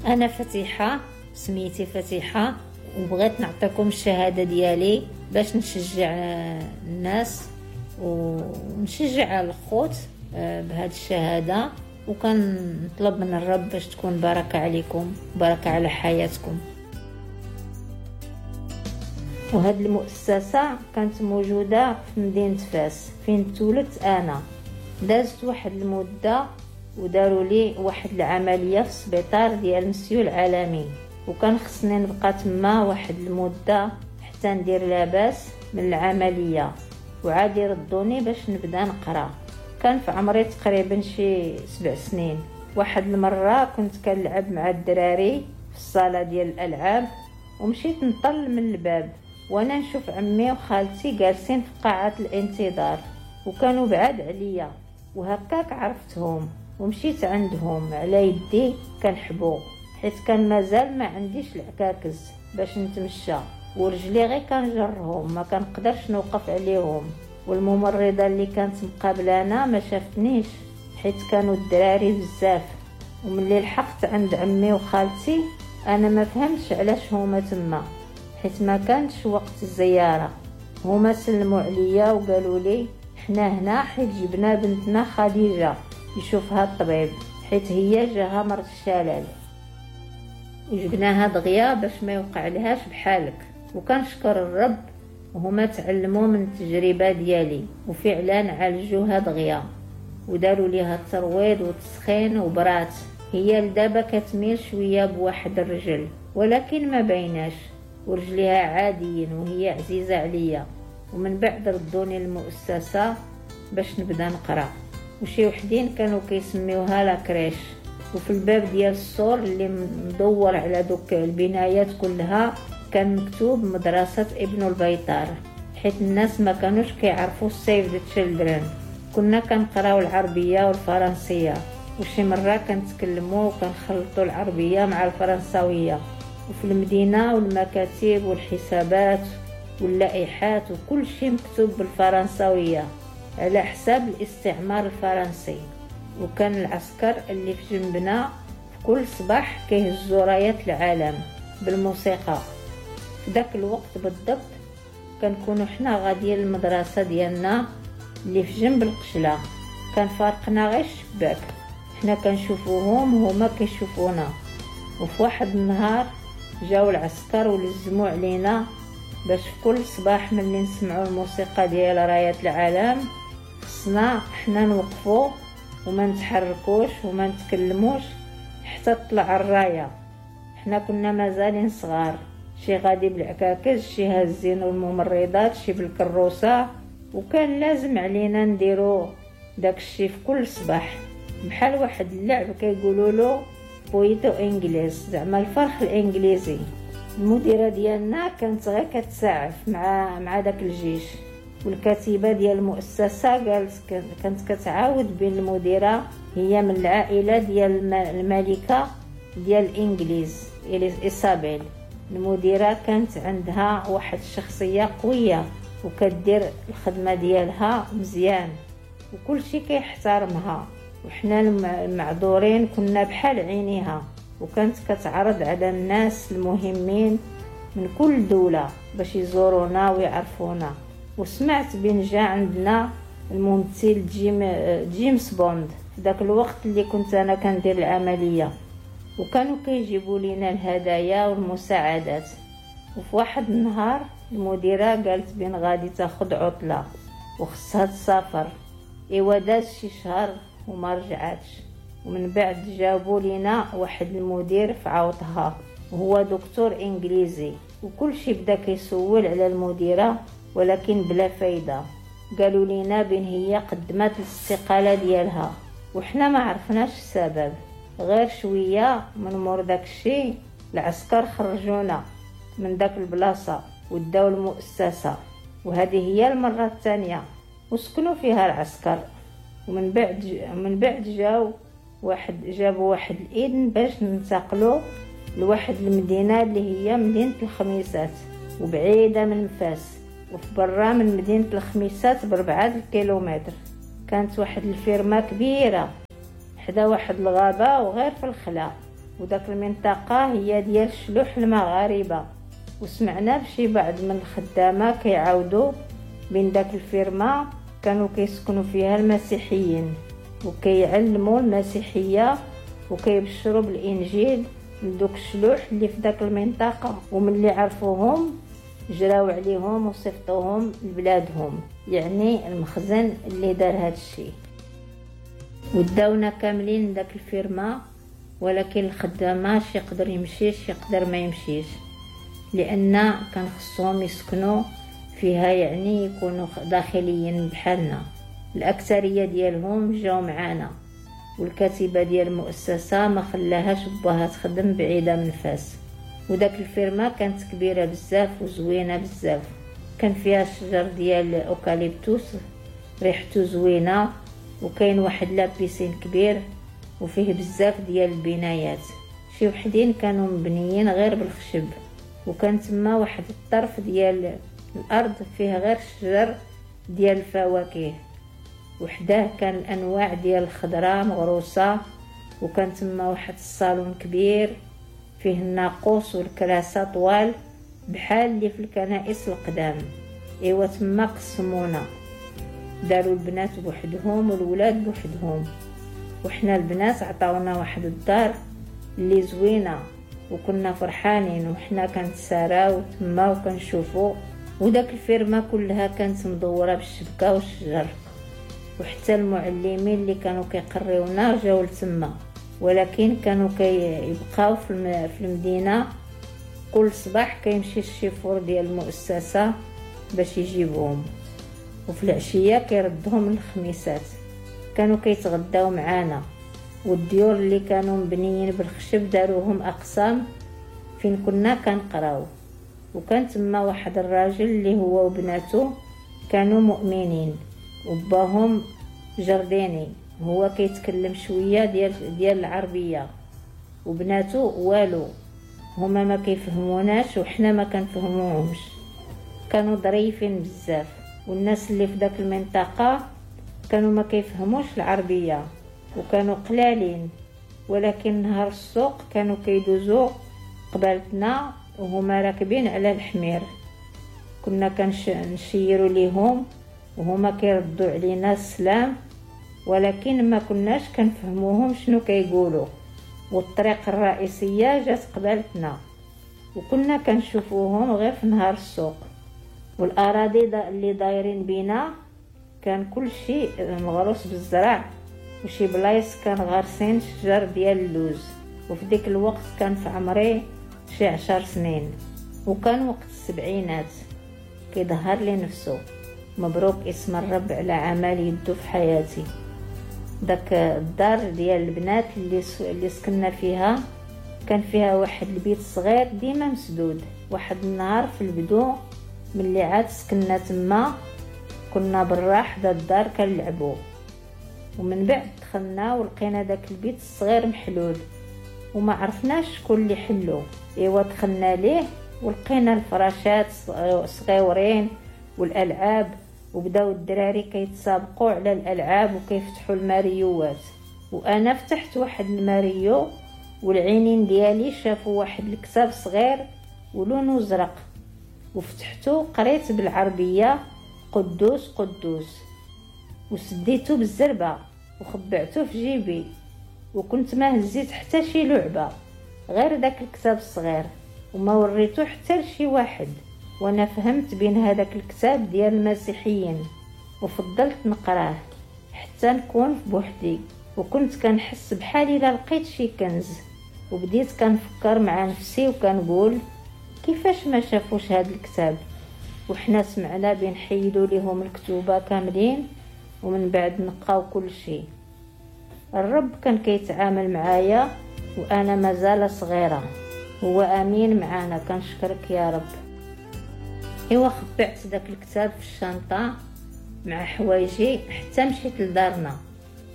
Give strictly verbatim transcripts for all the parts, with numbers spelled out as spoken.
انا فتيحه، سميتي فتيحه، وبغيت نعطيكم الشهادة ديالي باش نشجع الناس ونشجع الخوت بهذه الشهاده، وكنطلب من الرب باش تكون بركة عليكم، بركة على حياتكم. وهاد المؤسسة كانت موجودة في مدينة فاس فين تولدت انا. دازت واحد المدة وداروا لي واحد العملية في السبيطار ديال مسيو العالمي، وكان خصني نبقى تما واحد المدة حتى ندير لاباس من العملية وعاد يردوني باش نبدا نقرا. كان في عمري تقريبا شي سبع سنين. واحد المرة كنت كنلعب مع الدراري في الصاله ديال الالعاب، ومشيت نطل من الباب وانا نشوف عمي وخالتي جالسين في قاعة الانتظار، وكانوا بعاد عليا، وهكاك عرفتهم ومشيت عندهم على يدي كنحبو، حيت كان مازال ما عنديش العكاكز باش نتمشى، ورجلي غير كنجرهم ما كنقدرش نوقف عليهم. والممرضه اللي كانت مقابلانا ما شافتنيش حيت كانوا الدراري بزاف. وملي لحقت عند عمي وخالتي انا ما فهمتش علاش هما تما، حيت ما كانش وقت الزيارة. هما سلموا عليا وقالوا لي حنا هنا حيت جبنا بنتنا خديجة يشوفها الطبيب، حيت هي جاها مرض الشلل، وجبناها دغيا باش ما يوقع لهاش بحالك. وكنشكر الرب وهما تعلموا من التجربة ديالي، وفعلا عالجوها دغيا وداروا ليها الترويض والتسخين وبرات. هي لدابا كتميل شوية بواحد الرجل ولكن ما بيناش، ورجليها عاديين وهي عزيزه عليا. ومن بعد ردوني المؤسسة باش نبدا نقرا، وشي وحدين كانوا كيسميوها la crèche. وفي الباب ديال السور اللي مدور على دوك البنايات كلها كان مكتوب مدرسة ابن البيطار، حيت الناس ما كانوش كيعرفوا Save the Children. كنا كنقراو العربية والفرنسية، وشي مرة كنتكلموا وكنخلطوا العربية مع الفرنساوية. وفي المدينة والمكاتب والحسابات واللائحات وكل شيء مكتوب بالفرنساوية على حساب الاستعمار الفرنسي. وكان العسكر اللي في جنبنا في كل صباح كيهزوا رايات العالم بالموسيقى. في داك الوقت بالضبط كنكونوا حنا غاديين للمدرسة ديالنا اللي في جنب القشله، كان فارقنا غير الشباك، حنا كنشوفوهم وهما كيشوفونا. وفي واحد النهار جاو العسكر ولزموا علينا باش في كل صباح ملي نسمعوا الموسيقى ديال رايات العالم خصنا حنا نوقفوا وما نتحركوش وما نتكلموش حتى تطلع الراية. حنا كنا مازالين صغار، شي غادي بالعكاكز، شي هازين الممرضات، شي بالكروسه، وكان لازم علينا نديرو داكشي في كل صباح بحال واحد اللعب كيقولوا له pollito inglés، زعما الفرخ الانجليزي. المديرة ديالنا كانت غير كتساعف مع مع داك الجيش، والكاتبه ديال المؤسسة قالت كانت كتعاود بين المديرة هي من العائلة ديال الملكة ديال الانجليز ايزابيل. المديرة كانت عندها واحد الشخصية قوية وكدير الخدمة ديالها مزيان وكل شيء كيحترمها، وحنا المعذورين كنا بحال عينيها. وكانت كتعرض على الناس المهمين من كل دولة باش يزورونا ويعرفونا. وسمعت بين جا عندنا الممثل جيم جيمس بوند في داك الوقت اللي كنت انا كندير العملية، وكانوا كيجيبوا لينا الهدايا والمساعدات. وفي واحد النهار المديرة قالت بين غادي تاخذ عطله وخصها تسافر. ايوا داز شي شهر وما رجعاتش. ومن بعد جابوا لينا واحد المدير في عوضها، وهو دكتور انجليزي، وكل شي بدا كيسول على المديرة ولكن بلا فايده. قالوا لينا بين هي قدمت الاستقالة ديالها وحنا ما عرفناش السبب. غير شوية من مور داك الشيء العسكر خرجونا من داك البلاصة وداو المؤسسة، وهذه هي المرة الثانية وسكنوا فيها العسكر. ومن بعد من بعد جاو واحد جابوا واحد الاذن باش ننتقلوا لواحد المدينة اللي هي مدينة الخميسات، وبعيدة من فاس، وفي برا من مدينة الخميسات بربعه الكيلومتر. كانت واحد الفيرما كبيرة حدا واحد الغابة وغير في الخلا، وداك المنطقة هي ديال الشلوح المغاربة. وسمعنا بشي بعض من الخدامة كيعاودوا بين داك الفيرما كانوا كيسكنوا فيها المسيحيين وكيعلموا المسيحية وكيبشروا بالانجيل لدوك الشلوح اللي في داك المنطقة، وملي عرفوهم جراو عليهم وصيفطوهم لبلادهم، يعني المخزن اللي دار هذا الشيء. وداونا كاملين داك الفيرما، ولكن الخدامة شي يقدر يمشي شي يقدر ما يمشيش، لان كان خصهم يسكنوا فيها، يعني يكونوا داخليين بحالنا. الاكثرية ديالهم جاو معانا، والكاتبه ديال المؤسسة ما خلاهاش باها تخدم بعيدة من فاس. وداك الفيرما كانت كبيرة بزاف وزوينه بزاف، كان فيها الشجر ديال اوكاليبتوس ريحته زوينة، وكاين واحد la piscine كبير وفيه بزاف ديال البنايات، شي وحدين كانوا مبنيين غير بالخشب، وكان تما واحد الطرف ديال الارض فيه غير الشجر ديال الفواكه، وحداه كان الانواع ديال الخضرة مغروسه، وكان تما واحد الصالون كبير فيه الناقوس والكراسه طوال بحال اللي في الكنائس القدام. ايوا تما قسمونا، داروا البنات بوحدهم والولاد بوحدهم، وحنا البنات عطاونا واحد الدار اللي زوينة، وكنا فرحانين وحنا كنتساراو تما وكنشوفو. وداك الفيرما كلها كانت مدورة بالشبكه والشجر، وحتى المعلمين اللي كانوا كيقريونا جاو لتما، ولكن كانوا كيبقاو في المدينة. كل صباح كيمشي الشيفور ديال المؤسسة باش يجيبهم، وفي العشية كيردهم الخميسات. كانوا كيتغداو معانا، والديور اللي كانوا مبنيين بالخشب داروهم اقسام فين كنا كنقراو. وكان تما واحد الراجل اللي هو وبناته كانوا مؤمنين، وباهم جرديني، هو كيتكلم شوية ديال ديال العربية، وبناته والو، هما ما كيفهموناش وحنا ما كنفهموهمش. كانوا ظريفين بزاف، والناس اللي في داك المنطقة كانوا ما كيفهموش العربية وكانوا قلالين، ولكن نهار السوق كانوا كيدوزو قبالتنا وهما راكبين على الحمير، كنا كنشيروا ليهم وهما كيردوا علينا السلام، ولكن ما كناش كنفهموهم شنو كيقولوا. والطريق الرئيسية جات قبالتنا وكنا كنشوفوهم غير في نهار السوق. والاراضي اللي دايرين بينا كان كل شيء مغروس بالزرع، وشي بلايص كان غارسين شجر ديال اللوز. وفي ديك الوقت كان في عمري شي عشر سنين، وكان وقت السبعينات. كيظهر لي نفسه مبروك اسم الرب على عمل يدو في حياتي. داك الدار ديال البنات اللي اللي سكننا فيها كان فيها واحد البيت صغير ديما مسدود. واحد النهار في البدو ملي عاد سكننا تما كنا برا حدا الدار كنلعبو، ومن بعد دخلنا ولقينا داك البيت الصغير محلول وما عرفناش شكون اللي حلو. ايوا دخلنا ليه ولقينا الفراشات صغيورين والالعاب، وبداو الدراري كيتسابقوا على الالعاب وكيفتحوا الماريوات. وانا فتحت واحد الماريو والعينين ديالي شافوا واحد الكتاب صغير ولونه ازرق، وفتحته قريت بالعربية قدوس قدوس، وسديته بالزربه وخبعته في جيبي، وكنت ما هزيت حتى شي لعبه غير داك الكتاب الصغير، وما وريته حتى لشي واحد. وانا فهمت بين هذاك الكتاب ديال المسيحيين وفضلت نقراه حتى نكون بوحدي، وكنت كنحس بحالي لا لقيت شي كنز. وبديت كنفكر مع نفسي وكنقول كيفاش ما شافوش هذا الكتاب، وحنا سمعنا بين حيدوا ليهم الكتوبه كاملين ومن بعد نقاو كل شيء. الرب كان كيتعامل معايا وانا مازال صغيرة، هو امين معانا، كنشكرك يا رب. ايوا خبعت داك الكتاب في الشنطة مع حوايجي حتى مشيت لدارنا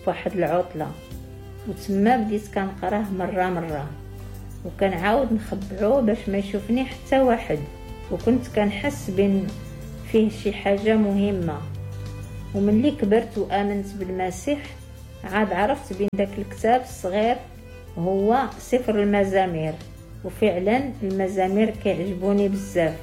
فواحد العطلة، وتما بديت كنقراه مرة مرة وكنعاود نخبعو باش ما يشوفني حتى واحد، وكنت كنحس بين فيه شي حاجة مهمة. وملي كبرت وامنت بالمسيح عاد عرفت بين داك الكتاب الصغير هو سفر المزامير. وفعلا المزامير كيعجبوني بزاف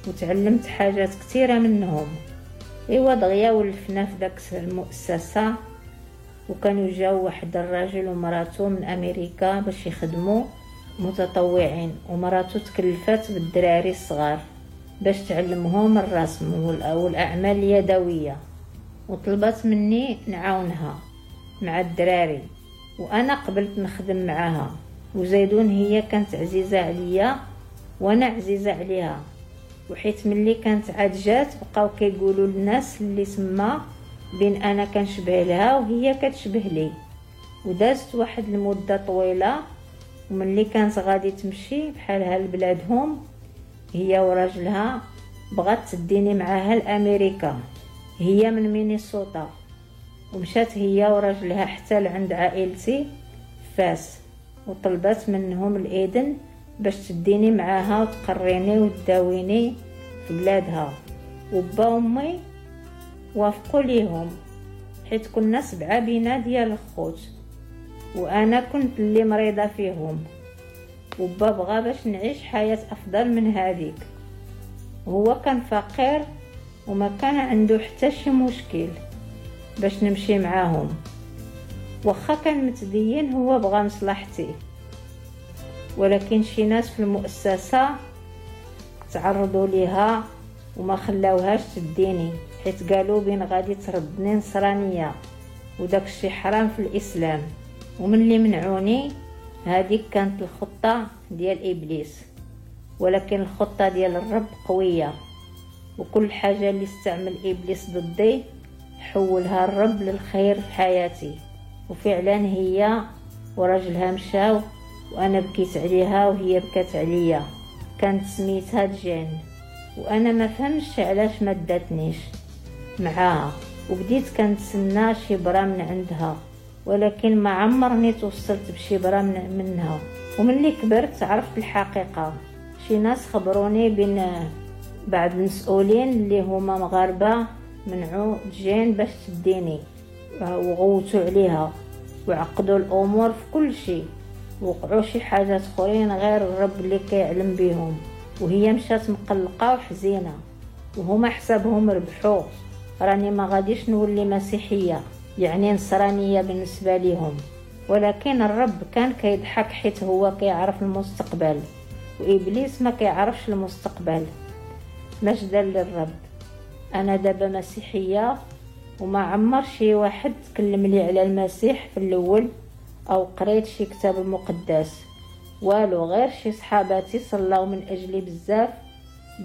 وتعلمت حاجات كثيرة منهم. ايوا دغيا ولفنا في داك المؤسسة، وكانوا جاو واحد الراجل ومراته من امريكا باش يخدموا متطوعين، ومراته تكلفات بالدراري الصغار باش تعلمهم الرسم والاعمال اليدوية، وطلبت مني نعاونها مع الدراري، وانا قبلت نخدم معاها. وزيدون هي كانت عزيزه عليا وانا عزيزه عليها، وحيت ملي كانت عاد جات بقاو كيقولوا للناس اللي تما بين انا كنشبه لها وهي كتشبه لي. ودازت واحد المدة طويلة، وملي كانت غادي تمشي بحالها لبلادهم هي وراجلها، بغات تديني معاها لامريكا، هي من مينيسوتا، ومشات هي وراجلها حتى لعند عائلتي فاس، وطلبت منهم الاذن باش تديني معاها وتقريني وتداويني في بلادها. وبا وامي وافقوا ليهم، حيت كنا سبعة بينا ديال الخوت وانا كنت اللي مريضه فيهم، وبا بغى باش نعيش حياة افضل من هذيك. هو كان فقير وما كان عنده حتى شي مشكل باش نمشي معاهم، واخا كان متدين هو بغى مصلحتي. ولكن شي ناس في المؤسسة تعرضوا ليها وما خلاوهاش تديني، حيت قالوا بين غادي تردني نصرانية وداك الشي حرام في الاسلام. ومن اللي منعوني هذيك كانت الخطة ديال ابليس، ولكن الخطة ديال الرب قوية، وكل حاجة اللي استعمل ابليس ضدي حولها الرب للخير في حياتي. وفعلا هي وراجلها مشاو، وانا بكيت عليها وهي بكات عليا. كانت سميتها جين، وانا ما فهمتش علاش ما داتنيش معاها، وبديت كنتسنى شي برا من عندها، ولكن ما عمرني توصلت بشي برا من منها. وملي كبرت عرفت الحقيقة، شي ناس خبروني بين بعض المسؤولين اللي هما مغاربة منعوا جين باش تديني، وغوتوا عليها وعقدوا الامور في كل شيء، وقعوا شي حاجات اخرين غير الرب اللي كيعلم بهم. وهي مشات مقلقة وحزينه، وهما حسابهم ربحوا، راني ما غاديش نولي مسيحية يعني نصرانية بالنسبة لهم. ولكن الرب كان كيضحك حيت هو كيعرف المستقبل، وابليس ما كيعرفش المستقبل. مجدا للرب، انا دابا مسيحية، وما عمر شي واحد تكلم لي على المسيح في الاول او قريت شي كتاب المقدس والو، غير شي صحاباتي صلاو من اجلي بزاف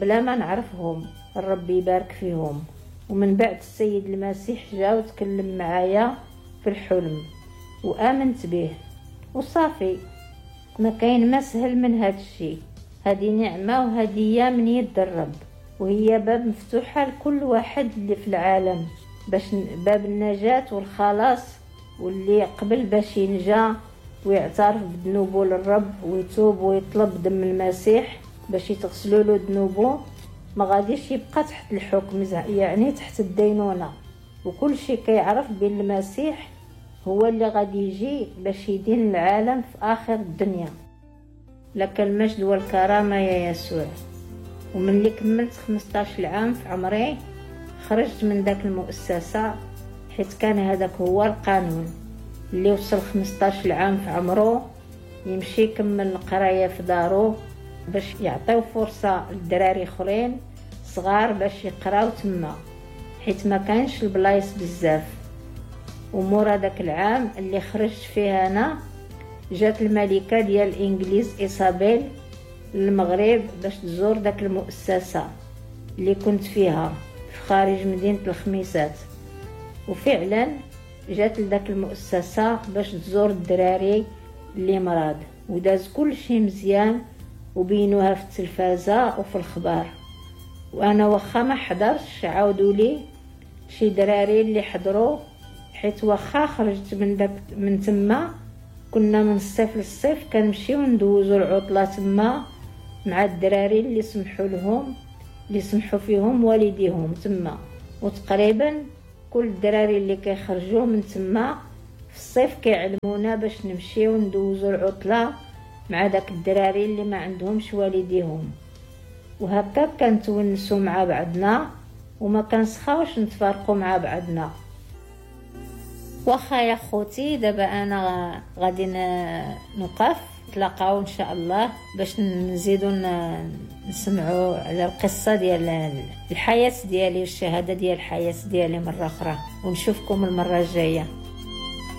بلا ما نعرفهم، الرب يبارك فيهم. ومن بعد السيد المسيح جا وتكلم معايا في الحلم وامنت به وصافي، ما كاين ما سهل من هذا الشيء. هذه نعمه وهديه من يد الرب، وهي باب مفتوحة لكل واحد اللي في العالم، باش باب النجاة والخلاص، واللي قبل باش ينجا ويعترف بذنوبه للرب ويتوب ويطلب دم المسيح باش يتغسلوا له ذنوبه، ما غاديش يبقى تحت الحكم، يعني تحت الدينونة. وكل شيء كيعرف بان المسيح هو اللي غادي يجي باش يدين العالم في اخر الدنيا. لك المجد والكرامة يا يسوع. ومن اللي كملت خمسطاش عام في عمري خرجت من داك المؤسسة، حيت كان هذاك هو القانون، اللي وصل خمسطاش عام في عمره يمشي يكمل القراية في دارو باش يعطيو فرصة للدراري اخرين صغار باش يقراو تما، حيت ما كانش البلايص بزاف. ومورا داك العام اللي خرجت فيه انا، جات الملكة ديال الانجليز ايصابيل للمغرب باش تزور داك المؤسسة اللي كنت فيها في خارج مدينة الخميسات. وفعلا جات لداك المؤسسة باش تزور الدراري اللي مرض، وداز كل شيء مزيان وبينوها في التلفازه وفي الخبار. وانا واخا ما حضرتش عاودوا لي شي دراري اللي حضروا، حيت واخا خرجت من داك من تما كنا من الصيف للصيف كنمشيو ندوزو العطلة تما مع الدراري اللي سمحوا لهم اللي سمحوا فيهم والديهم تما. وتقريبا كل الدراري اللي كيخرجوا من تما في الصيف كيعلمونا باش نمشيو ندوزو العطلة مع داك الدراري اللي ما عندهمش والديهم، وهكا كنتونسوا مع بعضنا وما كنسخاوش نتفارقوا مع بعضنا. واخا يا خوتي، دابا انا غادي نوقف، نتلاقاو ان شاء الله باش نزيدو نسمعوا على القصة ديال الحياة ديالي والشهادة ديال الحياة ديالي مرة اخرى، ونشوفكم المرة الجاية.